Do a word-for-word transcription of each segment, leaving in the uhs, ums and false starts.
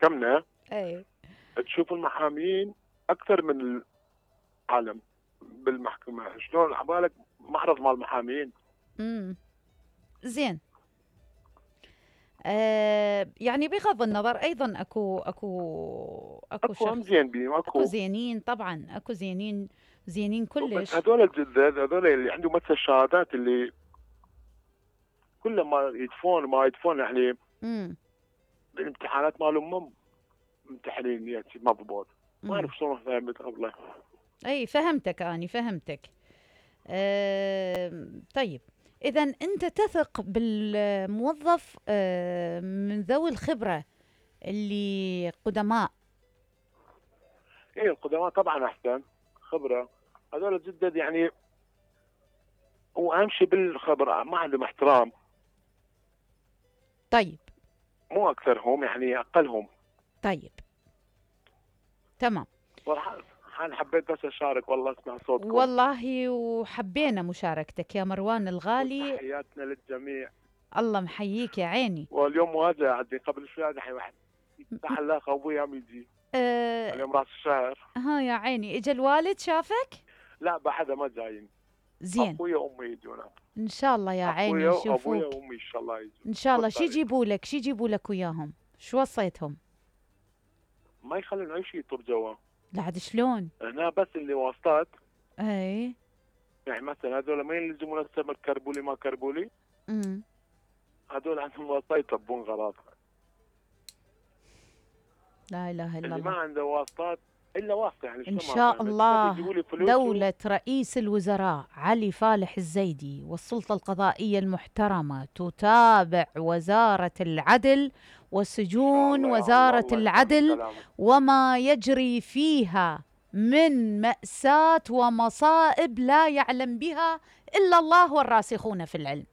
بمحكمنا اي تشوف المحامين اكثر من العالم بالمحكمه. شلون عبالك معرض مال المحامين؟ امم زين. آه يعني بغض النظر ايضا اكو اكو اكو, اكو هم شخص زين بيهم اكو اكو زينين طبعا، اكو زينين زينين بس كلش. هذول الجدد هذول اللي عندهم مثل الشهادات اللي كل ما يدفون ما يدفون يعني امم الامتحانات مالهم مو ممتحنين يعني مضبوط. ما اعرف شلون فهمت قبله. اي فهمتك اني فهمتك. آه طيب اذا انت تثق بالموظف آه من ذوي الخبره اللي قدماء؟ ايه القدماء طبعا احسن خبره. هذول الجدد يعني هو اهم شيء بالخبره، ما عندهم احترام. طيب مو اكثرهم يعني اقلهم. طيب تمام. صراحه انا حبيت بس اشارك والله اسمع صوتكم. والله وحبينا مشاركتك يا مروان الغالي. تحياتنا للجميع. الله محييك يا عيني. واليوم مواجهه عندي قبل شوي الحين واحد يفتح الله ابوي عم يجي. أه اليوم راس الشهر. ها يا عيني، اجى الوالد شافك؟ لا بعدها ما جايين. زين. ابويا وامي يجونا ان شاء الله يا عيني يشوفوك. ابويا وامي ان شاء الله يجون ان شاء الله. شو يجيبوا لك؟ شو يجيبوا لك وياهم؟ شو وصيتهم؟ ما يخلون اي شيء يطر جوا. لا عاد شلون؟ هنا بس اللي واسطات. اي يعني مثلا هذول ما يلزمون السمك كربولي ما كربولي. امم هذول عندهم واسطه يطبون غراض. لا اله الا اللي الله. ما عنده واسطات الا واسطه يعني ان شاء الله دولة رئيس الوزراء علي فالح الزيدي والسلطة القضائية المحترمة تتابع وزارة العدل وسجون وزارة العدل وما يجري فيها من مأساة ومصائب لا يعلم بها إلا الله والراسخون في العلم.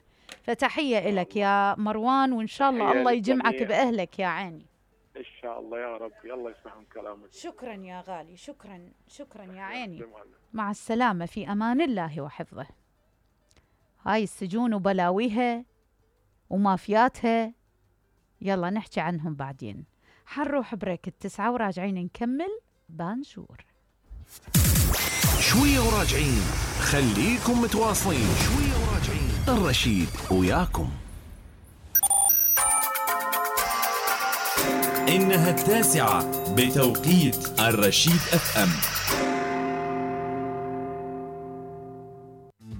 فتحية لك يا مروان، وإن شاء الله الله يجمعك بأهلك يا عيني. ان شاء الله يا رب. يلا يسمعون كلامك. شكرا يا غالي. شكرا شكرا يا عيني. مع السلامة، في أمان الله وحفظه. هاي السجون وبلاويها ومافياتها يلا نحكي عنهم بعدين. حنروح بريك التسعة وراجعين نكمل بانجور. شوية وراجعين، خليكم متواصلين. شوية وراجعين، الرشيد وياكم. إنها التاسعة بتوقيت الرشيد اف ام.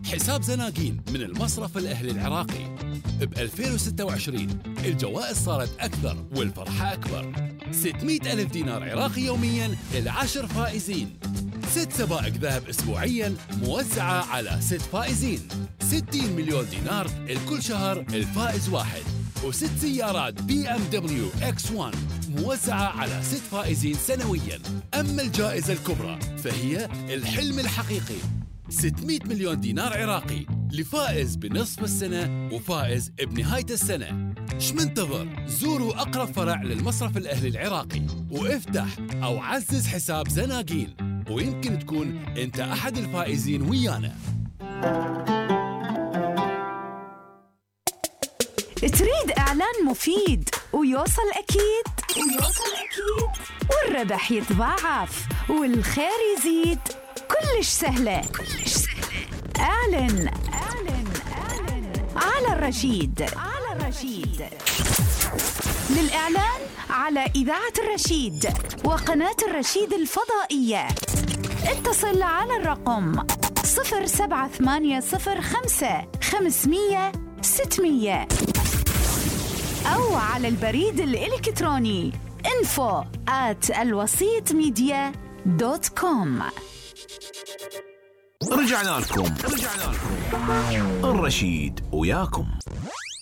حساب زناقين من المصرف الأهلي العراقي. ب ألفين وستة وعشرين الجوائز صارت أكثر والفرحة أكبر. ستمئة ألف دينار عراقي يومياً للعشر فائزين. ست سبائك ذهب أسبوعياً موزعة على ست فائزين. ستين مليون دينار لكل شهر الفائز واحد. وست سيارات بي ام دبليو اكس واحد موزعة على ست فائزين سنوياً. أما الجائزة الكبرى فهي الحلم الحقيقي، ستمئة مليون دينار عراقي لفائز بنصف السنة وفائز بنهاية السنة. شمنتظر؟ زوروا أقرب فرع للمصرف الأهلي العراقي وافتح أو عزز حساب زناقين، ويمكن تكون أنت أحد الفائزين ويانا. تريد إعلان مفيد ويوصل أكيد ويوصل أكيد والربح يتضاعف والخير يزيد؟ كلش سهلة كلش سهلة. اعلن اعلن اعلن على الرشيد على الرشيد. للإعلان على إذاعة الرشيد وقناة الرشيد الفضائية اتصل على الرقم صفر سبعة ثمانية صفر خمسة خمسمية ستمية أو على البريد الإلكتروني info at الوسيط ميديا دوت كوم. رجعنا لكم رجعنا لكم الرشيد وياكم.